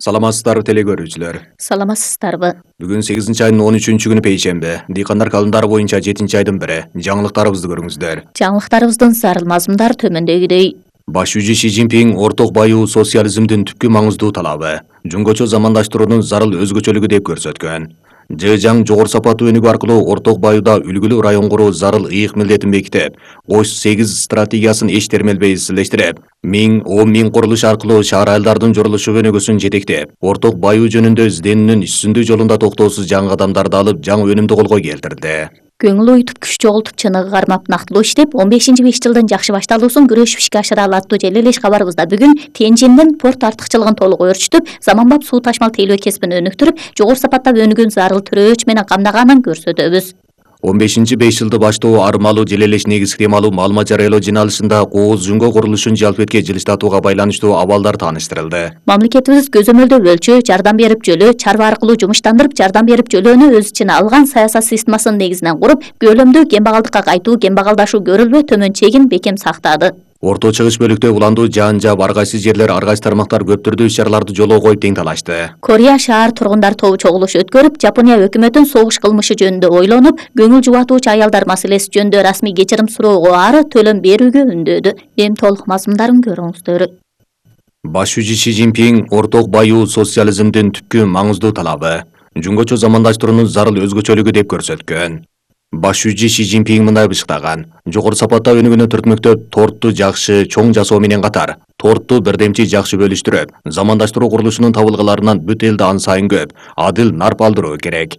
Саламатсыздарбы теле көрүүчүлөр. Саламатсыздарбы. Бүгүн 8-айдын 13-күнү пейшемби. Дыйкандар календарı боюнча 7-айдын 1. Жаңылыктарыбызды көрүңүздөр. Жаңылыктарыбыздын зарыл мазмундары төмөндөгүдөй. Баш жүзү Ши Цзиньпин орток баюу социализмдин түпкү маңыздуу талабы, жөнгөчө замандаштыруунун зарыл өзгөчөлүгү деп көрсөткөн. Жыжаң жогору сапаттуу өнүгүү аркылуу орток баюуда үлгүлүү район куруу зарыл ыйык милдетин бекитип, Ош 8 стратегиясын эч термелбей изчилештирип, 10 миң курулуш аркылуу шаар айылдардын журулушу өнүгүүсүн жетектеп, орток баюу жөнүндө изденүүнүн үстүндүү жолунда токтоосуз жаңы кадамдарды алып, жаңы өнүмдү колго келтирди. Көңүл ойтуп күч чогултуп чыныгы кармап нактылуу иштеп 15-5 жылдын жакшы башталуусун күрөшүп ишке ашыра алаттуу желелеш кабарыбызда бүгүн Тенжиндин порт артыкчылыгын толук өөрчүтүп, заманбап суу ташмал тейлөө кесибин өнүктүрүп, жогору сапаттап өнүгөн зарыл төрөөч менен камдаганын көрсөтөбүз. 15-5 жылды баштоо армалуу желелеш негизги темалуу маалымат жарыялоо жыйналышында Кооз Жүнгө курулушун жалпетке жылыштатууга байланыштуу абалдар тааныштырылды. Мамлекетибиз көзөмөлдөө өлчөө, жардам берип жөлөө, чарба аркылуу жумуштандырып, жардам берип жөлөөнү өз ичине алган саясат системасынын негизинен куруп, көлөмдүү кембагалдыкка кайтуу, кембагалдашуу көрүлбөй төмөн чегин бекем сактады. Орто чыгыш бөлүктө уландуу жаан-жаап ар кайсы жерлер, ар кайсы тармактар көп түрдүү иш-чараларды жолго коюп тең талашты. Корея шаар тургундар тобу чогулуш өткөрүп, Жапония өкмөтүнүн согуш кылмышы жөнүндө ойлонуп, көңүл жубатуучу аялдар маселеси жөнүндө расмий кечирим суроого ары төлөм берүүгө үндөдү. Эми толук мазмундарын көрүңүздөр. Баш жүзү Ши Цзиньпин орток баюу социализмдин түпкү маңыздуу талабы, жөнгөчө замандаштыруунун зарыл өзгөчөлүгү деп көрсөткөн. Баш жүзү Ши Цзиньпин мындай бышыктаган: жогору сапатта өнүгүүнү түртмөктөп, торту жакшы чоң жасоо менен катар, торту бирдемчи жакшы бөлүштүрүп, замандаштыруу курулушунун табылгаларынан бүт элди ан сайын көп, адил нарп алдыруу керек.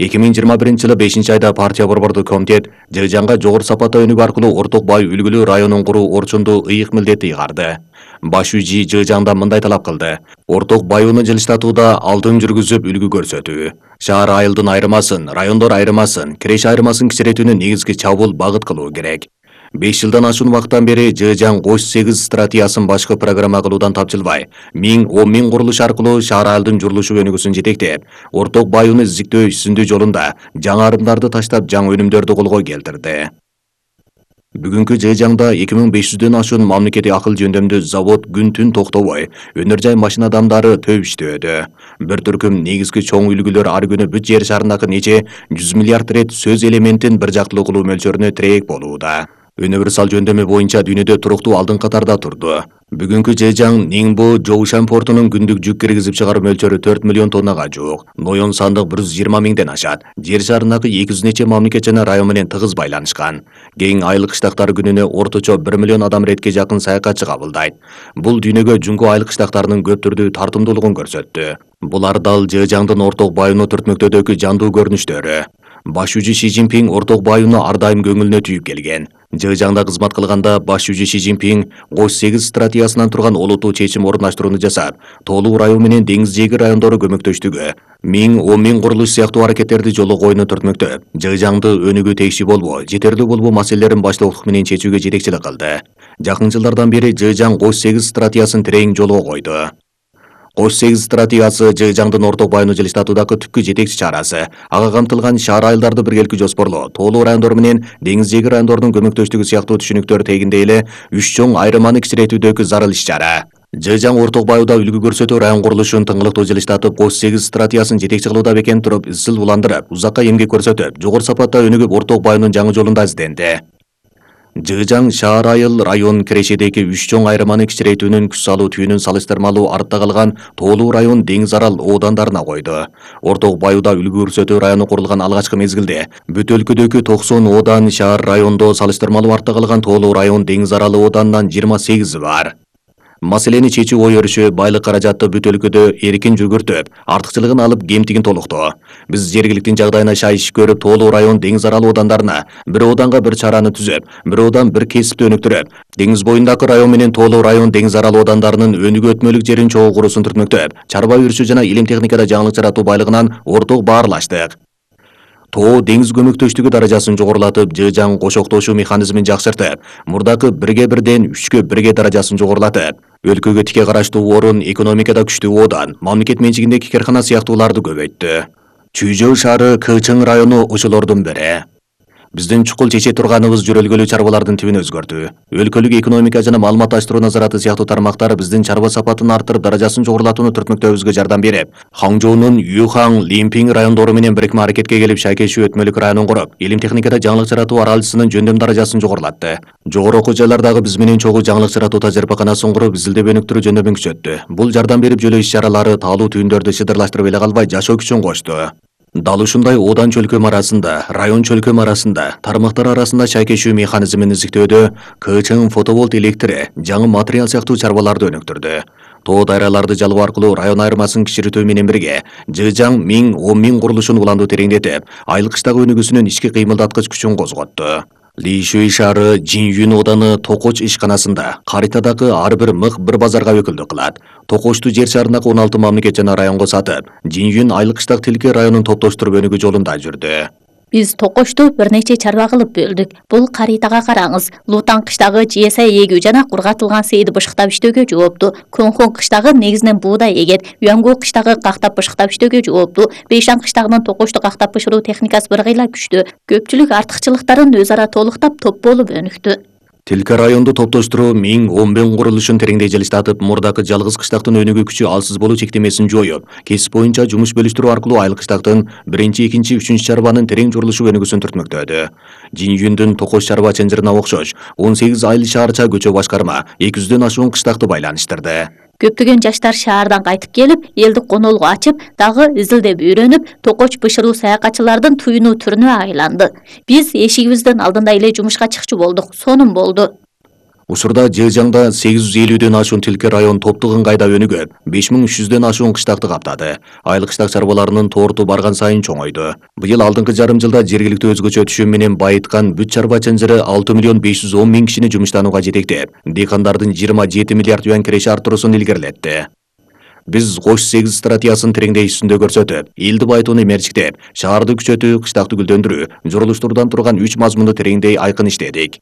2021-жылы 5-айда партия борбордук комитет Жыжаңга жогору сапатта өнүгүү аркылуу орток баюу үлгүлүү районун куруу орчундуу ыйык милдетти ыйгарды. Баш жүзү Жыжаңда мындай талап кылды: орток баюуну жылыштатууда алдын жүргүзүп үлгү көрсөтүү, шаар айылдын айырмасын, райондор айырмасын, киреш айырмасын кичиретүүнү негизги чабуул багыт кылуу керек. 5 жылдан ашуун убакыттан бери Жыжаң Ош 8 стратегиясын башкы программа кылуудан тапжылбай, 10 миң курулуш аркылуу шаар айылдын журулушу өнүгүүсүн жетектеп, орток баюуну изиктөө үстүндүү жолунда жаңы арымдарды таштап, жаңы өнүмдөрдү колго келтирди. Бүгүнкү Жыжаңда 2500дөн ашуун мамлекеттик акыл жөндөмдүү завод күн-түн токтобой, өнөр жай машина адамдары төп иштөөдө. Бир түркүм негизги чоң үлгүлөр ар күнү бүт жер шарындагы нече 100 миллиард рет сөз элементин бир жактылуу кылуу мөлчөрүнө тирек болууда. Универсал жөндөмү боюнча дүйнөдө туруктуу алдын катарда турду. Бүгүнкү Жыжаң Нingbo Жоушан портунун күндүк жүк киргизип чыгаруу мөлчөрү 4 миллион тоннага жуук. Ноён сандык 120 миңден ашат. Жер шарындагы 200 нече мамлекет жана район менен тыгыз байланышкан. Кең айыл кыштактар күнүнө орточо 1 миллион адам ретке жакын саякатчы кабылдайт. Бул дүйнөгө Жүнгө айыл кыштактарынын көп түрдүү тартымдуулугун көрсөттү. Булар дал Жыжаңдын орток баюуну түртмөктөөдөгү жандуу көрүнүштөрү. Баш жүзү Ши Цзиньпин орток баюуну ар дайым көңүлүнө түйүп келген. Жыжаңда кызмат кылганда баш жүзү Ши Цзиньпин Ош 8 стратегиясынан турган олуттуу чечим орундаштырууну жасап, тоолуу район менен деңиз жээги райондору көмөктөштүгү, 10 миң курулуш сыяктуу аракеттерди жолго коюуну түртмөктөп, Жыжаңды өнүгүү тегиши болбоо, жетерлүү болбоо маселелерин баштоолук менен чечүүгө жетекчилик кылды. Жакын жылдардан бери Жыжаң Ош 8 стратегиясын терең жолго койду. Ош 8 стратегиясы Жыжаңдын орток баюуну жылыштатуудагы түпкү жетекчи чарасы. Ага камтылган шаар айылдарды биргеликти жоспорлоо, тоолуу райондор менен деңиз жээги райондордун көмөктөштүгү сыяктуу түшүнүктөр тегиндей эле 3 чоң айырманы кичиретүүдөгү зарыл иш-чара. Жыжаң орток баюуда үлгү көрсөтүү район курулушун тыңгылыктуу жылыштатып, Ош 8 стратегиясын жетекчи кылууда бекем туруп, изчил уландырып, узакка эмгек көрсөтүп, жогору сапатта өнүгүп, орток баюунун жаңы жолунда изденди. Жыжаң шаар айыл район кирешедеги 3 чоң айырманы кичиретүүнүн күч салуу түйүнүн салыштырмалуу артта калган тоолуу район деңиз арал оодандарына койду. Орток баюуда үлгү көрсөтүү району курулган алгачкы мезгилде бүт өлкөдөгү 90 оодан шаар райондо салыштырмалуу артта калган тоолуу район деңиз аралы ооданынан 28 бар. Маселени чечүү ой өрүшү байлык каражатты бүт өлкөдө эркин жүгүртүп, артыкчылыгын алып кемтигин толуктоо. Биз жергиликтин жагдайына шайыш көрүп, тоолуу район деңиз арал оодандарына бир ооданга бир чараны түзөп, бир оодан бир кесипти өнүктүрүп, деңиз боюндагы район менен тоолуу район деңиз арал оодандарынын өнүгүү өтмөлүк жерин чогуу куруусун түртмөктөп, чарба өрүшү жана илим техникада жаңылык жаратуу байлыгынан орток баарлаштык. Тоо деңиз көмөктөштүгү даражасын жогорулатып, Жыжаң кошоктошуу механизмин жакшыртып, мурдакы 1/1ден 3/1 даражасын жогорулатып, өлкөгө тике караштуу орун, экономикада күчтүү оодан, мамлекет менчигиндеги каркана сыяктууларды көбөйттү. Чүйжөө шаары Кычың району ошолордун бири. Биздин чукул чече турганыбыз жөрөлгөлүү чарбалардын тибин өзгөртүү. Өлкөлүк экономика жана маалыматташтыруу назараты сыяктуу тармактар биздин чарба сапатын арттырып, даражасын жогорулатууну түртмөктөбүзгө жардам берип, Хаңжоунун Юхан, Лимпинг райондору менен бирикме аракетке келип, Шайкешүү өтмөлүк районун куруп, илим техникада жаңылык жаратуу аралчысынын жөндөм даражасын жогорулатты. Жогору окуу жайлардагы биз менен чогуу жаңылык жаратуу тажрыйбаканасын куруп, изилдеп өнүктүрүү жөндөмүн күчөттү. Бул жардам берип, жөлөө иш-чаралары таалуу түйүндөрдү шыдырлаштырып эле калбай, жашоо күчүн кочту. Дал ушундай Одан чөлкөм арасында, район чөлкөм арасында, тармактар арасында Шайкешүү механизмин изиктөөдө КЧН фотоволт электри, жаңы материал сыяктуу чарбаларды өнүктүрдү. Тоо дайраларды жалоо аркылуу район айырмасын кичиретүү менен бирге, Жыжаң 1000-10 миң курулушун уландуу тереңдетип, айылкычтагы өнүгүүсүнүн ички кыймылдаткыч күчүн козготту. Лишүй шаары Жинюн Оданы Токоч ишканасында каритадагы ар бир мык bir базарга өкүлдүк кылат. Токочту жер шарындагы 16 мамлекет жана районго сатып, Жинюн айылкычтак тилке районун топтоштуруп өнүгүү жолунда жүрдү. Биз Токочту бир нече чарба кылып бөлдүк. Бул каритага караңыз. Лутан кыштагы жээса эгүү жана кургатылган сейди бышыктап иштөөгө жоопту. Конхон кыштагы негизинен буудай эгет. Юангу кыштагы кактап бышыктап иштөөгө жоопту. Бейшан кыштагынын Токочту кактап бышыруу техникасы бир кыйла күчтүү. Көпчүлүк артыкчылыктарын өз ара толуктап топ болуп өнүктү. Тилке районду топтоштуруу 1010 миң курулушун тереңдей жылыштатып, мурдакы жалгыз кыштактын өнүгүү күчү алсыз болуу чектемесин жоюп, кесип боюнча жумуш бөлүштүрүү аркылуу айыл кыштактын 1-2-3 чарбанын терең журулушу өнүгүүсүн түртмөктөдү. Жинюндун Токоч чарба ченжирине окшош 18 айыл шаарча көчө башкарма 200дөн ашуун кыштакты байланыштырды. Көптөгөн жаштар шаардан кайтып келип, элдик конолгу ачып, дагы изилдеп үйрөнүп, Токоч бышыруу саякатчылардын туюнуу түрүнө айланды. Биз эшигибиздин алдында эле жумушка чыкчу болдук. Сонун болду. Учурда Жыжаңда 850дөн ашуун тилке район топтук ыңгайда өнүгүп, 5300дөн ашуун кыштакты каптады. Айыл кыштак чарбаларынын торту барган сайын чоңойду. Быйыл алдыңкы жарым жылда жергиликтүү өзгөчө түшүм менен байыткан бүт чарба ченжири 6 510 000 кишини жумуштанууга жетектеп, дыйкандардын 27 миллиард юан киреши арттыруусун илгерилетти. Биз Кош 8 стратегиясын тереңдей үстүндө көрсөтүп, элди байытууну мерчиктеп, шаарды күчөтүү, кыштакты гүлдөндүрүү, журулуштурдан турган 3 мазмунду тереңдей айкын иштедик.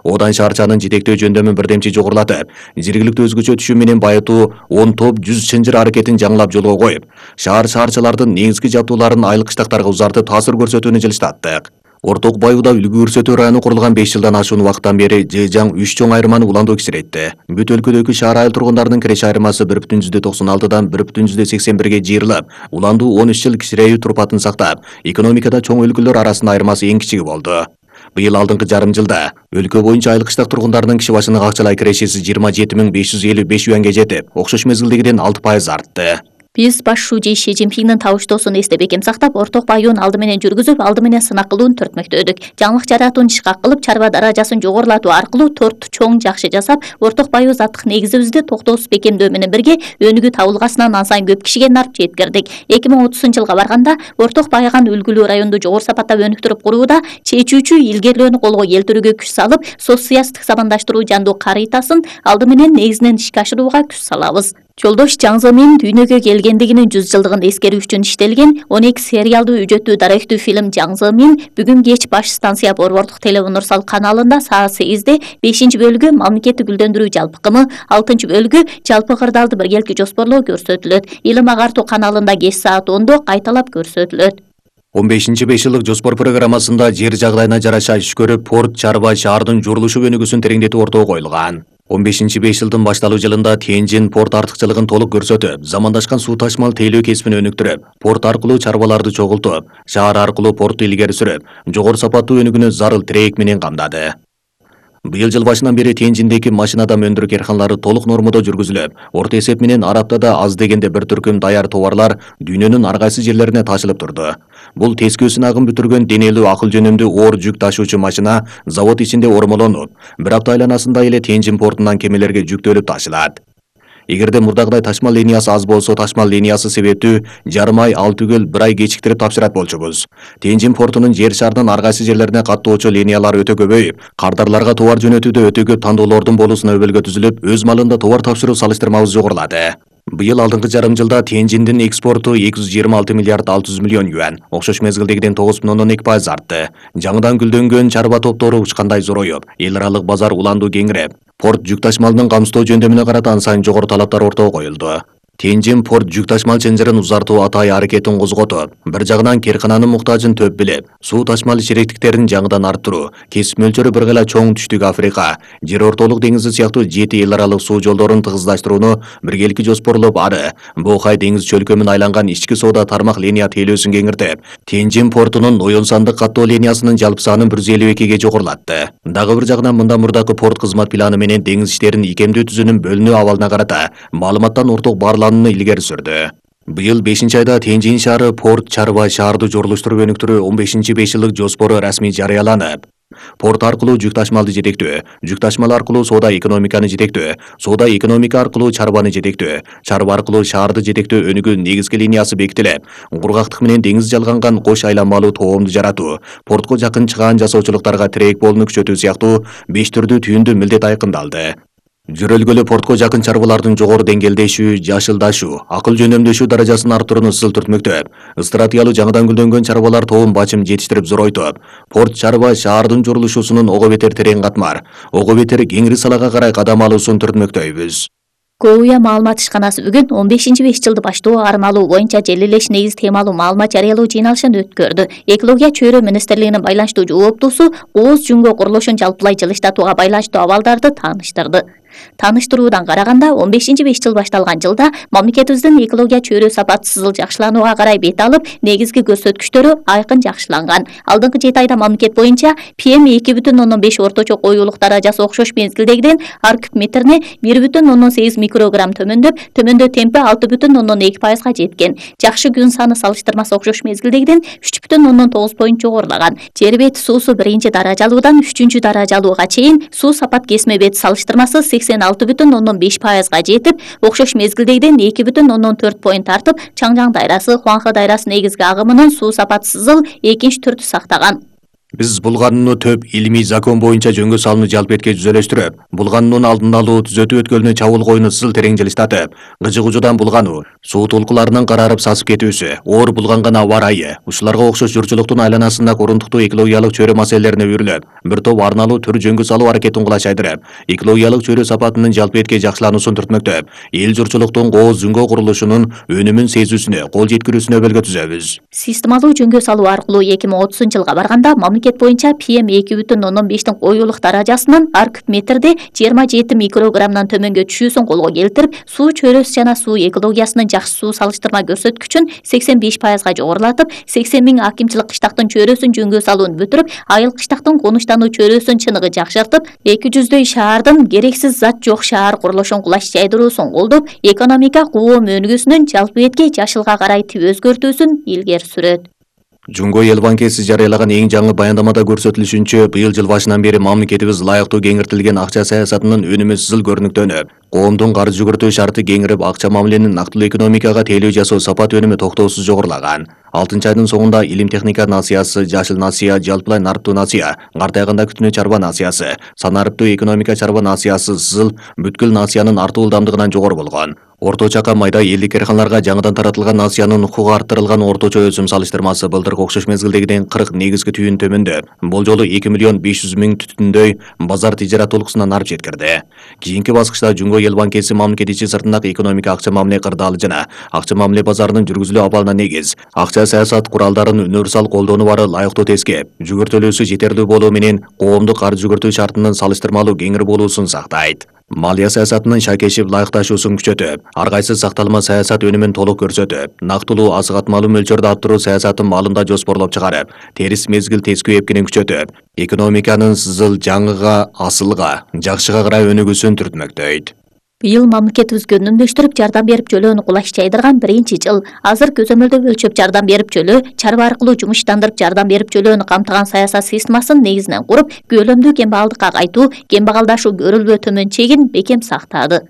Одан шаарчанын жетектөө жөндөмүн бирдемчи жогорулатып, жергиликтүү өзгөчө түшүм менен байытуу 10 топ 100 чынжыр аракетин жаңылап жолго коюп, шаарчалардын негизги жабдууларын айыл кыштактарга узартып таасир көрсөтүүнү жылыштаттык. Орток Баюуда үлгү көрсөтүү району курулган 5 жылдан ашуун убакыттан бери Жыжаң 3 чоң айырманы уландуу кичиретти. Бүт өлкөдөгү шаар айыл тургундарынын киреше айырмасы 1,96-дан 1,81ге жыйырылып, уландуу 13 жыл кичирейүү турпатын сактап, экономикада чоң өлкөлөр арасында айырмасы эң кичиги болду. Быйыл алдыңкы жарым жылда өлкө боюнча айыл кыштак тургундарынын киши башына акчалай кирешеси 27 555 юанга жетип, окшош мезгилдегиден 6% артты. Биз баш шужи Ши Цзиньпиндин табыштоосун эстеп бекем сактап, Орток Баюун алды менен жүргүзүп, алды менен сынак кылууну түртмөктөдүк. Жаңылык жаратууну ишке кылып, чарба даражасын жогорулатуу аркылуу торту чоң жакшы жасап, Орток Баю заттык негизибизди токтоосуз бекемдөө менен бирге өнүгүү табылгасынан ансайын көп кишиге нарп жеткирдик. 2030-жылга барганда Орток Байыган үлгүлүү районду жогору сапаттап өнүктүрүп курууда чечүүчү илгерилөөнү колго келтирүүгө күч салып, соцсыясаттык сабандаштыруу жандуу каритасын алды менен негизинен ишке ашырууга күч салабыз. Жолдош Жаң Зымин дүйнөгө келгендигинин 100 жылдыгын эскерүү үчүн иштелген 12 сериалдуу үжөттүү даректүү фильм Жаң Зымин бүгүн кеч баш станция Борбордук телеунурсал каналында саат 8-де 5-бөлүгү мамлекеттик гүлдөндүрүү жалпы кымы, 6-бөлүгү жалпы кырдаалды биргеликти жоспорлоо көрсөтүлөт. Илим агартуу каналында кеч саат 10-до кайталап көрсөтүлөт. 15-5 жылдык жоспор программасында жер жагдайына жараша иш көрүп, порт, чарба, шаардын журулушу өнүгүүсүн тереңдетүү ортого коюлган. 15-5 жылдын башталуу жылында Тенжин порт артыкчылыгын толук көрсөтүп, замандашкан суу ташмал тейлөө кесибин өнүктүрүп, порт аркылуу чарбаларды чогултуп, шаар аркылуу порту илгери сүрүп, жогору сапаттуу өнүгүүнү зарыл тирек менен камдады. Быйыл жыл башынан бери Тенжиндеги машинадам өндүрүү карканалары толук нормодо жүргүзүлүп, орто эсеп менен ар аптада аз дегенде бир түркүм даяр товарлар дүйнөнүн ар кайсы жерлерине ташылып турду. Бул тескөө сынагын бүтүргөн денелүү акыл жөнүндүү оор жүк ташуучу машина завод ичинде ормолонуп, бир апта айланасында эле Тенжин портунан кемелерге жүктөлүп ташылат. Эгерде мурдагыдай ташмал линиясы аз болсо, ташмал линиясы себептүү жарым ай, 6 күн, 1 ай кечиктирип тапшырат болчубуз. Тенжин портунун жер шарынын ар кайсы жерлерине каттоочу линиялары өтө көбөйүп, кардарларга товар жөнөтүүдө өтө көп тандоолордун болуусуна өбөлгө түзүлүп, өз малында товар тапшыруу салыштырмабыз жогорулады. Быйыл алдыңкы жарым жылда Тенжиндин экспорту 226 миллиард 600 миллион юан, окшош мезгилдегиден 9,2% артты. Жаңыдан гүлдөнгөн чарба топтору учкандай зороюп, эл аралык базар уландуу кеңиреп, порт жүк ташмалынын камсыздоо жөндөмүнө карата ансайын жогору талаптар ортого коюлду. Тенжин порт жүк ташмал чынжырын узартуу атайы аракетин козготуп, бир жагынан керкананын муктажын төп билип, суу ташмал чиректиктерин жаңыдан арттыруу, кесип мөлчөрү бир гана чоң Түштүк Африка, Жер ортолук деңизи сыяктуу 7 эл аралык суу жолдорун тыгыздаштырууну биргеликти жоспорлоп ары, Бохай деңиз чөлкөмүн айланган ички соода тармак линия тейлөөсүн кеңиртип, Тенжин портунун Оюн сандык каттоо линиясынын жалпы санын 152ге жогорулатты. Дагы бир жагынан мындан мурдакы порт кызмат планы менен деңиз иштерин икемдүү түзүүнүн бөлүнүү абалына карата маалыматтан орток баарланууну илгери сүрдү. Быйыл 5-айда Тенжин шаары порт чарба шаарды жорулуштуруу өнүктүрүү 15-5 жылдык жоспору расмий жарыяланып, порт аркылуу жүк ташмалды жетектөө, жүк ташмал аркылуу соода экономиканы жетектөө, соода экономика аркылуу чарбаны жетектөө, чарба аркылуу шаарды жетектөө өнүгүү негизги линиясы бекитилип, кургактык менен деңиз жалганган кош айланмалуу тоомду жаратуу, портко жакын чыгаан жасоочулуктарга тирек болуну күчөтүү сыяктуу 5 түрдүү түйүндүү милдет айкындалды. Жөрөлгөлө портко жакын чарбалардын жогору деңгээлдешүү, жашылдашуу, акыл жөнөмдөшүү даражасын арттырууну ысыл түртмөктөп, стратегиялуу жаңыдан гүлдөнгөн чарбалар тобун бачым жетиштирип зоройтуп, порт чарба шаардын жорулушуусунун ого бетер терең катмар, ого бетер кеңири салага карай кадам алуусун түртмөктөйбүз. КОУЯ маалымат ишканасы бүгүн 15-5 жылды баштоо армалуу боюнча желилеш негиз темалуу маалымат жарыялоо жыйналышын өткөрдү. Экология чөйрө министрлигинин байланыштуу жооптусу ооз жүнгө курулушун жалпылай жылыштатууга байланыштуу абалдарды тааныштырды. Тааныштыруудан караганда 15-5 жыл башталган жылда мамлекетибиздин экология чөйрө сапаты сызыл жакшыланууга карай бет алып, негизги көрсөткүчтөрү айкын жакшыланган. Алдыңкы 7 айда мамлекет боюнча PM2,5 орточо коюулук даражасы окшош мезгилдегиден ар куб метрине 1,8 микрограмм төмөндөп, төмөндөө темпи 6,2%га жеткен. Жакшы күн саны салыштырмасы окшош мезгилдегиден 3,9 поинт жогорулаган. Жер бети суусу 1 даражалуудан 3 даражалууга чейин суу сапат кесме бети салыштырмасы 86,5%га жетип, окшош мезгилдегиден 2,4 поинт артып, Чаңжаң дайрасы, Хуанхэ дайрасы негизги агымынын суу сапаты сызыл экинчи түрдү сактаган. Биз булганууну төп илимий закон боюнча жөнгө салууну жалпы этке жүзөлөштүрүп, булгануунун алдын алуу, түзөтүү өткөлүнө чабуул коюуну сызыл терең жылыштатып, гыжыгуужудан булгануу, суу толкуларынын карарып сасып кетүүсү, оор булганган аба ырайы, ушуларга окшош журчулуктун айланасында корундуктуу экологиялык чөйрө маселелерине үйрүлүп, бир топ арналуу түр жөнгө салуу аракетин кулаш айдырып, экологиялык чөйрө сапатынын жалпы этке жакшылануусун түртмөктөп, эл журчулуктун кооз жүнгө курулушунун өнүмүн сезүүсүнө, кол жеткирүүсүнө өбөлгө түзөбүз. Системалуу жөнгө салуу аркылуу 2030-жылга барганда мамлекет боюнча PM2,5 коюулук даражасынын ар куб метрде 27 микрограммдан төмөнгө түшүүсүн колго келтирип, суу чөйрөсү жана суу экологиясынын жакшы суу салыштырма көрсөткүчүн 85%га жогорулатып, 80 000 акимчилик кыштактын чөйрөсүн жөнгө салууну бүтүрүп, айыл кыштактын конуштануу чөйрөсүнүн чыныгы жакшыртып, 200дөй шаардын керексиз зат жок шаар курулушун кулаш жайдыруусун колдоп, экономика коом өнүгүүсүнүн жалпы этке жашылга карай тип өзгөртүүсүн илгери сүрөт. Жумго эл банкеси жарыялаган эң жаңы баяндамада көрсөтүлүшүнчө, быйыл жыл башынан бери мамлекетибиз ылайыктуу кеңиртилген акча саясатынын өнүмү сызыл көрүнүктөнүп, коомдун карыз жүгүртүү шарты кеңирип, акча мамиленин нактылуу экономикага тейлөө жасоо сапат өнүмү токтоосуз жогорулаган. 6-айдын соңунда илим техника насыясы, жашыл насыя, жалпылай нарыктуу насыя, картайганда күтүнө чарба насыясы, санариптүү экономика чарба насыясы сызыл бүткүл насыянын артуу ылдамдыгынан жогору болгон. Орточа майда элдик карканаларга жаңыдан таратылган насыянын укугу арттырылган орточо өсүм салыштырмасы былтыркы окшош мезгилдегиден 40 негизги түйүн төмөндөп, болжолу 2,5 миллион түтүндөй базар тижарат толкусунан арып жеткирди. Кийинки баскычта Жумго эл банкеси мамлекет ичи сыртындагы экономика акча мамиле кырдаалы жана акча мамиле базарынын жүргүзүлүү абалына негиз, акча саясат куралдарын универсал колдонуу бары ылайыктуу тескеп, жүгүртөлөөсү жетерлүү болуу менен коомдук карыз жүгүртүү шартынын салыштырмалуу кеңири болуусун сактайт. Малия саясатынын шакешип ылайыкташуусун күчөтүп, ар кайсы сакталма саясат өнүмүн толук көрсөтүп, нактылуу азык-атмалуу мөлчөрдө арттыруу саясатын маалында жоспорлоп чыгарып, терис мезгил тескөө эпкинин күчөтүп, экономиканын сызыл жаңыга, асылга, жакшыга карай өнүгүүсүн түртмөктөйт. Быйыл мамлекетибизге үнөмдөштүрүп жардам берип жөлөөнү кулаш жайдырган 1-жыл. Азыр көзөмөлдөө өлчөп жардам берип жөлөө, чарба аркылуу жумуштандырып жардам берип жөлөөнү камтыган саясат системасын негизинен куруп, көлөмдүү кембагалдыкка кайтуу, кембагалдашуу көрүлбөө төмөн чегин бекем сактады.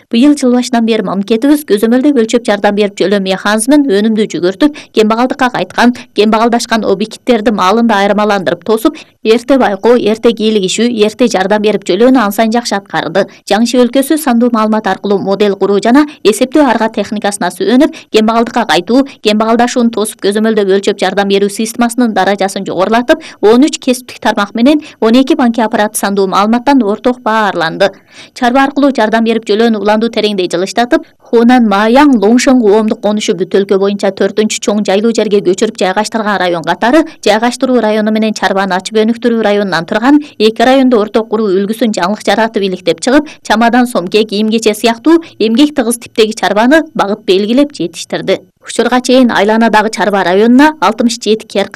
Быйыл жыл башынан бери мамлекетибиз көзөмөлдөө өлчөп жардам берип жөлөө механизмин өнүмдүү жүгүртүп, кембагалдыкка кайткан, кембагалдашкан объекттерди маалында айырмаландырып тосуп, эрте байкоо, эрте кийлигишүү, эрте жардам берип жөлөөнү ан сайын жакшы аткарды. Жаңы өлкөсү сандуу маалымат аркылуу модель куруу жана эсептөө арга техникасына сүйөнүп, кембагалдыкка кайтуу, кембагалдашууну тосуп көзөмөлдөө өлчөп жардам берүү системасынын даражасын жогорулатып, 13 кесиптик тармак менен 12 банки аппараты сандуу маалыматтан орток баарланды. Чарба аркылуу жардам берип жөлөөнү уланду тереңдей жылыштатып, Хунан Маяң Лоңшен коомдук конушу бүт өлкө боюнча 4-чү чоң жайлуу жерге көчүрүп жайгаштырган район катары жайгаштыруу району менен чарбаны ачып өнүктүрүү районунан турган эки райондо орток куруу үлгүсүн жаңылык жаратып иликтеп чыгып, чамадан сомке, кийим-кече сыяктуу эмгек тыгыз типтеги чарбаны багыт белгилеп жетиштирди. Учурга чейин айланадагы чарба районуна 67 керк